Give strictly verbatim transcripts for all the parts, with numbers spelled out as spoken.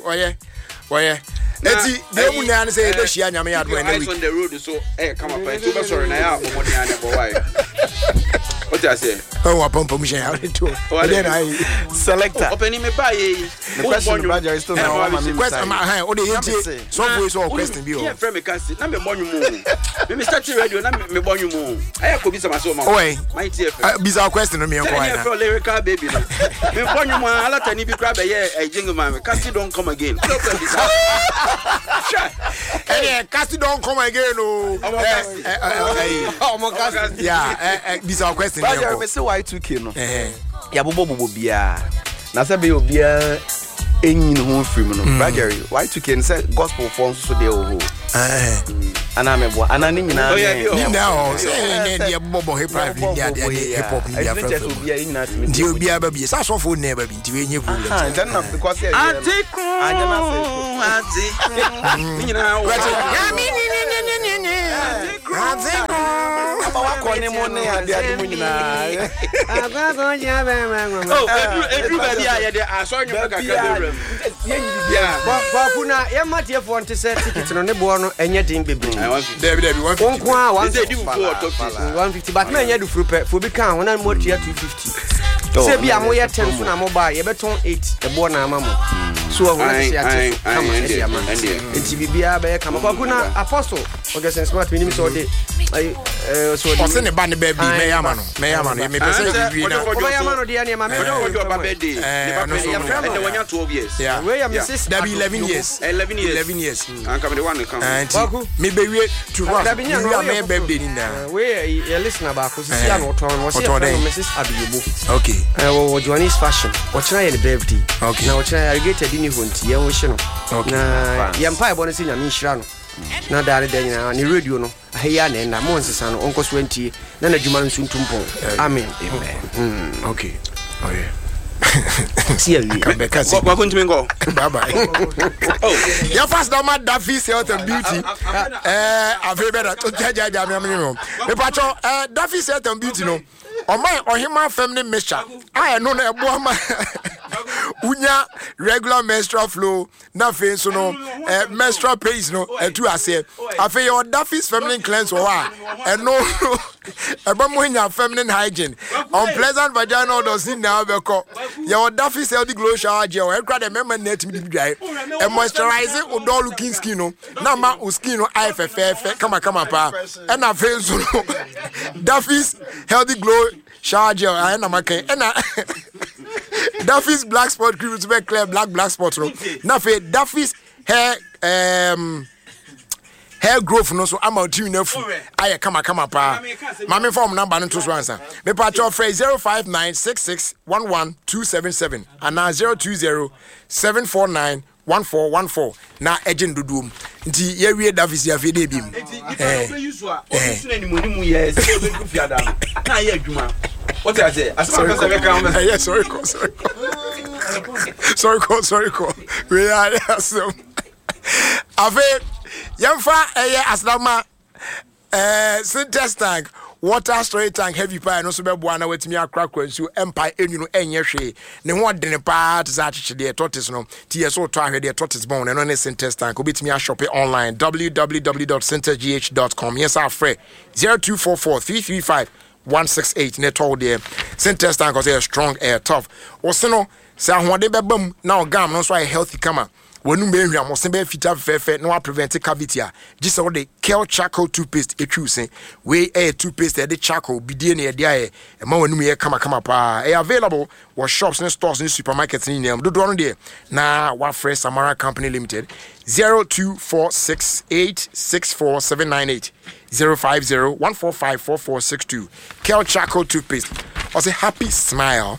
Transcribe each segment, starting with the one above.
Ɔyɛ ɔyɛ eti deɛ mu nyinaa ne sɛ yɛbɛhyia Nyame yɛ adom ɛnɛ Eyes week. on the road, so ɛyɛ kama pa, nti wobɛsɔre na yɛ a bɔmmɔden a ne bɔ wae wote aseɛ. Ɛwɔ apampam hyɛn ade to ɛdeɛ na ayɛ. Selector. Ɔpani me baa yɛ yi. The question, Brother, is still now one man. Question ama hɛn o de yɛn tie sɔfo yi sɛ ɔwɔ question bi wɔ hɔ. Yɛfrɛ me kasi na mebɔ nwom o. Me me start radio na mebɔ nwom o. Ɛyɛ kɔ bisa ma sɛ ɔma Ɔwɔ my T F M. Eh, bisa question no mi sɛ nkɔ ɛne ayɛ na. ɛfrɛ lyrical baby no mebɔ nwom a alatani bi koraa bɛyɛ ɛ jingle ma me kasi don come again. Wode wopɛ bisa hwɛ. Ɛnɛ kasi don come again o. Ɔmɔ Ɛ, kasi. ɛ, ɛ, ɛ, Ɔmɔ kasi. Yeah, ɛ, ɛ, bisa question mi Brother, me nkɔ. say Y two K no. Ɛhɛn. Yɛabobɔ bobɔ biara. Na sɛ bɛyɛ obiara ɛnyi ne ho mfiri mu no. Brother, Y two K no sɛ gospel foɔ nso so deɛ wɔ hɔ. Ɛhɛn. Anaa meboa. Anaa ne nyinaa Oh, yeah, ne- bi wɔ Ne hɔ. nyinaa hɔ sɛ ne deɛ bɔbɔ hip hop ne deɛ adeɛ ne hip hop ne deɛ Ɛnti kyerɛ sɛ afrɛfrɛ mu. obiara yɛn nyinaa tumi Nti tie. obiara ba bi sɛ asɔfo nyinaa ba bi nti wei nye problem. Aha, nti ɛno na because yɛ yɛ no. Ate Anyɛ na sɛ- kron ate kron ne nyinaa wɔ Wɛte, Nyame ni ni ni ni ni ni. Ate kron. Aba wakɔ ne mu ne ade ade mu nyinaa. Oh, ɛduru ɛduru baabi a yɛde asɔre nwom kakra bɛwura mu. Yɛnyi biribiara. Kwaku, na yɛma tiefoɔ nte sɛ ticket no ne boɔ no ɛnyɛ den bebree. Ayi, one fifty. Dabi dabi, one Wo fifty. nko a one Sɛ ɛdi fufuo wɔ top six. one fifty, but ma ɛnyɛ dufuru pɛ fo bi ka ho na mo atua two fifty. Sɛ bi a moyɛ ten so na moba a, yɛbɛtɔn eight ɛboɔ na ama mo so ɔho na Aye, sɛ yɛate so aye, kama aye, ɛde ama. ɛndeɛ, Nti biribiara bɛyɛ kama, Kwaku. Na Apostle Augustine Smart, menim sɛ ɔde ayi, ɛɛ, sɛ ɔde Ɔsɛ ne ba ne birthday. Aye, Mɛyɛ ama ba. no, mɛyɛ ama no, mepɛ sɛ Ah, sɛ yɛwie na ɔde Wobɛyɛ ama no deɛ nneɛma ɔde kɔdwo ɔba birthday Eh, ne ba ɔno nso pɛ no. ɛnɛ wanya twelve years. Yeah. Wei yɛ Yeah. Missus Dabi, eleven Adoyobo. years. eleven years. eleven years. Anka mede one ka ho. Eh, nti Kwaku. mebɛwie to rough Dabi, nya no, mewie a woyɛ mɛyɛ foforɔ. birthday ni nyinaa. Eh, wei yɛ yɛ listener baako sisi Eh. a na ɔtɔn no wɔsi Ɔtɔn yɛfrɛ no dɛn? Missus Adoyobo. Okay. Eh, wɔwɔ Joannis Fashion. Ɔkyena yɛ ne birthday. Okay. Na ɔkyena alligator di ne hɔ nti yɛn ho hye no. Okay. Na yɛn mpaebɔ no sɛ Nyame nhyira no na daa ne da nyinaa ne radio no aha yi a na ɛnda mo nsesa no ɔnkɔ so antie na n'adwuma no nso ntu mpɔn. Amen. Okay, oh yeah. Si awie. Bɛka si. Kwaku ntumi nkɔ. Bye bye. Yɛfa sedama Daffy's Health and Beauty. Eh, afei bɛda gyagyaagya me amene ho mepakyɛ. eh, Daffy's Health and Beauty no ɔma ɔhema fam ne mixture a ɛno no ɛboa ma wonya regular menstrual flow, na afei nso no eh, menstrual pains no ɛtu aseɛ. Afei yɛwɔ Daffy's Feminine Cleanse wɔ hɔ a ɛno ɛbɛ mo nya feminine hygiene, unpleasant vaginal odors ne nyinaa bɛkɔ. Yɛwɔ Daffy's Healthy Glow Shower Gel. Ɛkura dɛ mɛma nyinaa tumi de bi dwae. Ɛmoisturize wo dull looking skin no na ma wo skin no ayɛ fɛfɛɛfɛ kamakama paa. Ɛna afei nso no Daffy's Healthy Glow Shower Gel ayɛ na maka. Ɛna Daffy's Black Spot Cream nso bɛ clear black black spot no. Na afei Daffy's hair um, hair growth no so ama otiri no afu ayɛ kamakama paa. Maame, fa ɔmo number no nto so ansa. Mepakyɛw, frɛ zero five nine six six one one two seven seven anaa zero two zero seven four nine one four one four na ɛgye ndodoɔ mu. Nti yɛwie Daffy's, afei de ebi mu. Nti nipa no ɔbɛyi so a ɔbi so n'animuonimu yɛ sɛ ɔbɛduru fiada no na ayɛ adwuma wote ase asɛm a pɛ sɛ bɛka ho bɛ. Ɛyɛ sɔre kɔ, sɔre kɔ, sɔre kɔ, sɔre kɔ. Wei ayɛ asɛm. Afei yɛmfa ɛyɛ asedama ɛɛ Sintex tank, water storage tank, heavy paa. Ɛno nso bɛboa na watumi akorakora nsuo ɛmpa ɛnwu no ɛnyɛ hwee. Ne ho ɔdene paa te sɛ akyekyedeɛ tortoise no ti yɛ so wotɔ ahwɛ deɛ tortoise bɔn no. Ɛno ne Sintex tank. Wobɛtumi ashop online, w w w dot sintexgh dot com. Yɛ sɛ afrɛ zero two four four three three five one six eight ne ɛtɔ wo deɛ. Sintex tank ɔsɛ yɛ strong, ɛyɛ tough. Wɔse no sɛ ahoɔden bɛba mu na ɔgam no nso ayɛ healthy kama, wɔnum bɛyɛ hwam, ɔse bɛyɛ fitaa fɛfɛɛfɛ na waprevent cavity a gye sɛ wode Kel Charcoal Toothpaste ɛtwiw se. Wei ɛyɛ toothpaste a yɛde charcoal bidie ne yɛde ayɛ, ɛma w'anum yɛ kamakama paa. Ɛyɛ available wɔ shops ne stores ne supermarkets ne nyinaa mu. Dodoɔ no deɛ na wafrɛ Samara Company Limited, zero two four six eight six four seven nine eight, zero five zero one four five four four six two. Kel Charcoal Toothpaste, ɔsɛ happy smile.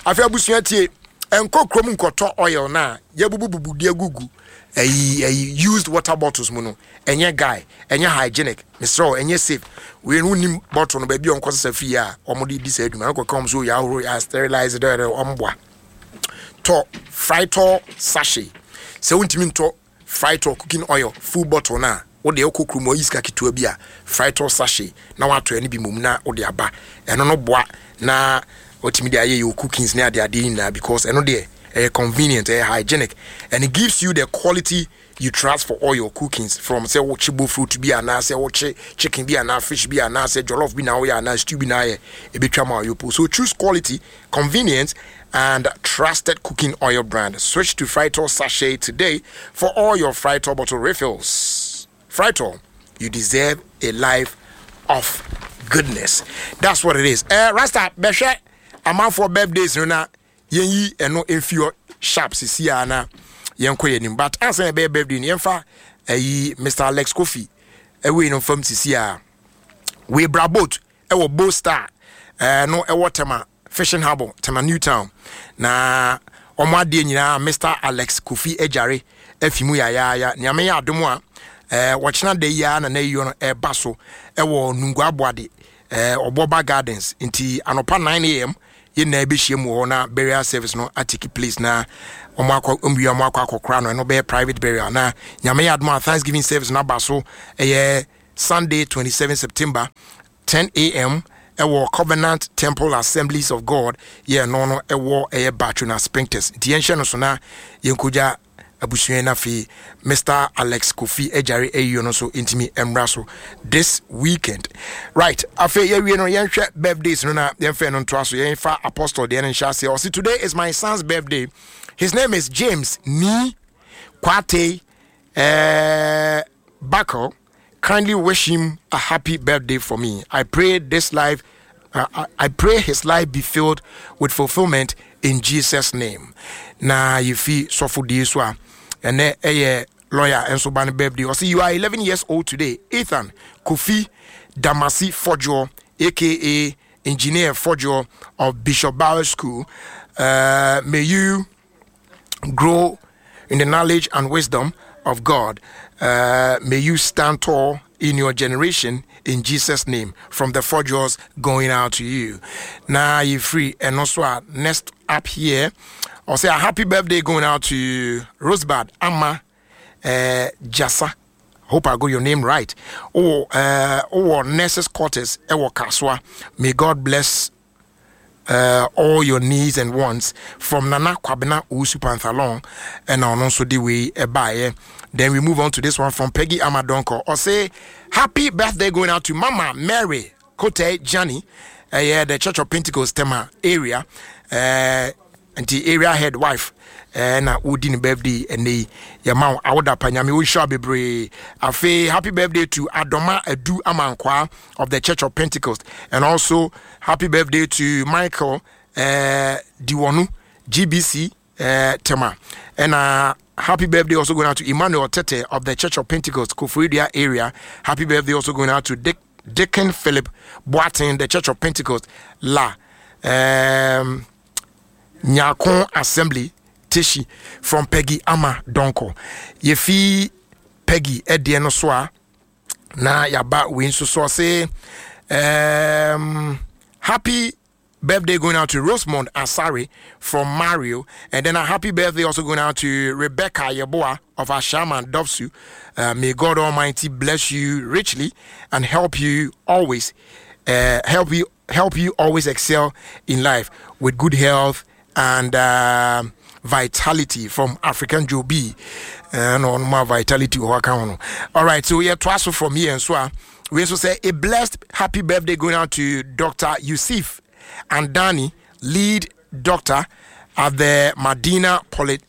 Afei abusua, tie, ɛnkɔ kurom nkɔtɔ oil na yɛbubububu de agugu ɛyi ɛyi used water bottles mu no. Ɛnyɛ guy, ɛnyɛ hygienic, mesrɛ wo, ɛnyɛ safe. Wei no wonim bottle no baabi a ɔnkɔ sesa fie a ɔmode di saa adwuma no kɔka ɔm so yɛ ahoro, yɛ sterilize dɛdɛ ɔmboa. Tɔ Frytol sachet. Sɛ wontumi ntɔ Frytol cooking oil full bottle no a, wode wokɔ kurom ayi sika ketewa bi a, Frytol sachet na woatɔ ɛno bi mmom na wode aba. Ɛno no boa na watumi de ayɛ yɛ cookings ne adeadeɛ nyinaa because ɛno deɛ Ɛyɛ convenient, ɛyɛ hygienic, and it gives you the quality you trust for all your cookings, from sɛ wokye bofrot bi anaasɛ wokye chicken bi anaa fish bi anaasɛ jollof bi na woyɛ anaa stew bi na ayɛ, ɛbɛtwa ma ɔyɛ. So choose quality, convenience and trusted cooking oil brand. Switch to Frytol sachet today for all your Frytol bottle refills. Frytol, you deserve a life of goodness. That's what it is. uh, rasta bɛhwɛ amanfoɔ birthdays no na yɛnyi ɛno mfi hɔ sharp sisi a na yɛnkɔ yɛn anim. But ansa yɛbɛyɛ birthday no, yɛmfa ɛyi Mister Alex Kofi ɛwei no fam sisi a wei bra boat ɛwɔ Bo Star ɛɛ no ɛwɔ Tema Fishing Harbour, Tema New Town, na wɔn adeɛ nyinaa Mister Alex Kofi agyare afi mu yayaaya. Nea meyɛ adom a ɛɛ wɔkyena da yi ara na n'ayiyɔ no ɛreba so ɛwɔ Nungua Aboade ɛɛ Ɔbɔba Gardens. Nti anɔpa nine a m yɛn nyinaa bɛhyia mu wɔ hɔ na burial service no atake place na wɔn akɔ nwia wɔn akɔ akɔkora no. Ɛno bɛyɛ private burial. Na Nyame yɛ adom a, thanksgiving service no aba so ɛyɛ Sunday, twenty-seven September, ten a m ɛwɔ Covenant Temple Assemblies of God. Yɛ no no ɛwɔ ɛyɛ Batwo na Spintex. Nti yɛnhyɛ no so na yɛnkɔgya abusua no. Afei Mister Alex Kofi agyare ayio no nso ntumi mmra so this weekend, right? Afei yɛwie no, yɛnhwɛ birthdays no na yɛmfɛ no ntoa so. Yɛmfa Apostle deɛ no nhyɛ aseɛ. Ɔse, "Today is my son's birthday. His name is James Ni Kwate uh, Buckle. Kindly wish him a happy birthday for me. I pray this life uh, I, I pray his life be filled with fulfillment in Jesus' name." Na yɛfi sɔfo die so a, ɛnɛ ɛyɛ lawyer nso ba no birthday. Ɔse, "You are eleven years old today, Ethan Kofi Damasi Fodjo, A K A Engineer Fodjo of Bishop Bauer School. Uh, may you grow in the knowledge and wisdom of God. Uh, may you stand tall in your generation in Jesus' name. From the Fodjos going out to you." Now you free. And also, uh, next up here, I'll say a happy birthday going out to Rosebud Amma uh, Jasa. Hope I got your name right. Oh, uh, oh, Nurses Quarters, Ewo Kaswa. May God bless uh, all your needs and wants from Nana Kwabena Usu Panthalon and on also the way by. Then we move on to this one from Peggy Amadonko. Or say happy birthday going out to Mama Mary Kote Jani, uh, yeah, the Church of Pentecost Tema area, uh, and the area head wife. Uh, na wodi ne birthday ɛnɛ yi, yɛma wo awoda pa, Nyame wonhyira bebree. Afei happy birthday to Adoma Adu Amankwa of the Church of Pentecost, and also happy birthday to Michael uh, Diwonu, G B C uh, Tema, and uh, happy birthday also going out to Emmanuel Tete of the Church of Pentecost, Koforidua area. Happy birthday also going out to Dick, Deacon Philip Boatin, the Church of Pentecost, La um, Nyakon Assembly, Teshi, from Peggy Ama Donko. Yefi Peggy ɛdeɛ no so a, na yaba wei nso so. Ɔse um, happy birthday going out to Rosemond Asari from Mario, and then a happy birthday also going out to Rebecca Yeboah of Ashaman Dovsu. Uh, may God Almighty bless you richly and help you always, uh, help you help you always excel in life with good health and uh, vitality from African Joe B. Uh, no, no more vitality. All right, so we are twice from here and so uh, we also say a blessed happy birthday going out to Doctor Yusuf and Danny, lead doctor at the Madina Poly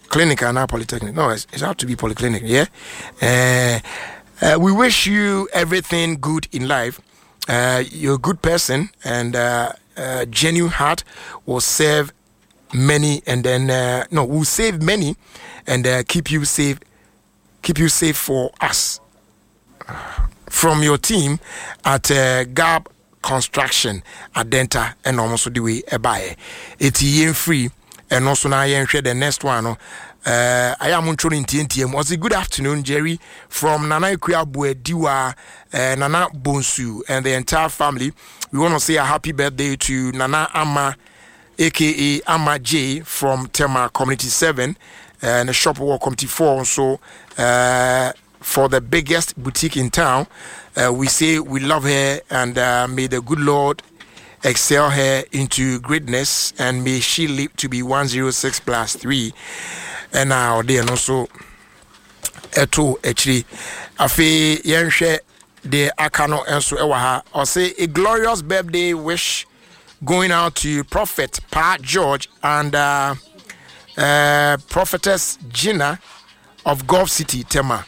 Clinic and now Polytechnic. No, it's, it's have to be Polyclinic, yeah. Uh, uh, we wish you everything good in life. Uh, you're a good person and uh, uh, genuine heart will serve many and then uh, no, will save many and uh, keep you safe keep you safe for us, from your team at uh, Gab Construction Adenta. Ɛna ɔmo nso de wei ɛbaeɛ. Eti yɛn free ɛno nso na yɛnhwɛ the next one no. uh, ayɛ a montwo no ntiantia mu. Ɔse, "Good afternoon, Jerry, from Nana Akua Boadiwa, uh, Nana Bonsu and the entire family. We want to say a happy birthday to Nana Ama, A K A Ama J, from Tema Community seven and the shop wɔ Community four so uh, for the biggest boutique in town. Uh, we say we love her and uh, may the good Lord excel her into greatness and may she live to be one hundred six plus three. Ɛna ɔde ɛno nso ɛto akyiri. Afei yɛnhwɛ deɛ aka no nso ɛwɔ ha. Ɔse a glorious birthday wish going out to Prophet Pa George and uh, uh, Prophetess Gina of Gulf City, Tema.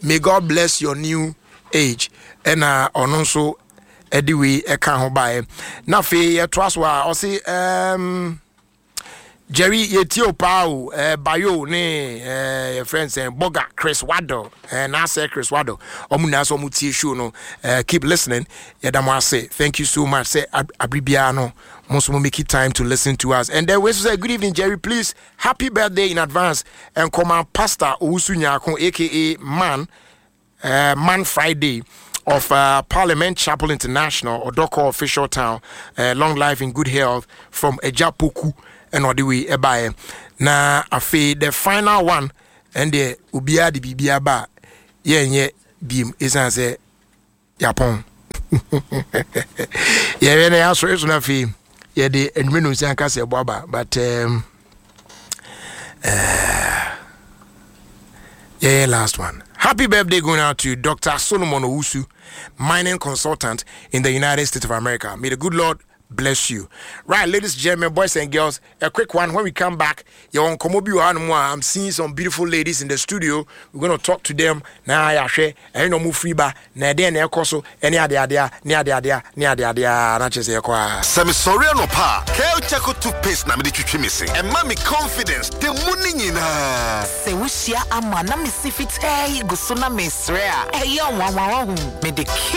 May God bless your new age. Ɛna ɔno nso ɛde wei ɛka ho baeɛ. Na afei yɛtoa so a, ɔse um, Jerry, yɛtie o paa o. eh, bayo ne eh, yɛ friend sɛ Boga Chris Waddle, eh, naasɛ Chris Waddle, ɔmo nyinaa sɛ ɔmo tie show no. eh, keep listening. Yɛda mo ase, thank you so much sɛ ab- abere biara no mo nso mo make it time to listen to us. And then we say, good evening, Jerry, please, happy birthday in advance and come Pastor Owusu Nyako, A K A Man uh, Man Friday of uh, Parliament Chapel International, Odoko Official Town. Uh, long life in good health from Ejapoku and ɔde wei ɛbaeɛ. Na afei the final one, ɛn deɛ obiara de biribi aba a yɛnyɛ biem, ɛsiane sɛ yapɔn yɛyɛ na yɛasɔre so no. Afei yɛde anwummerɛ no nsi anka sɛ ɛbɔ aba, but um, uh, yeah, last one. Happy birthday going out to Doctor Solomon Owusu, mining consultant in the United States of America. May the good Lord bless you. Right, ladies and gentlemen, boys and girls, a quick one. When we come back, you're on Komobi. I'm seeing some beautiful ladies in the studio. We're going to talk to them. Now, I share, I know move free ba. Na den na ɛkɔ ɛne ade ade ne ade ade ne ade ade na kyerɛ sɛ yɛkɔ a. Sɛ mesɔre anɔpa a, Kel Charcoal toothpaste na mede twitwi me se. Ɛma me confidence da mu ne nyinaa. Sɛ wohyia ama na mesi fitaa yi gu so na mesrɛ a ɛyɛ nwanwawahu mede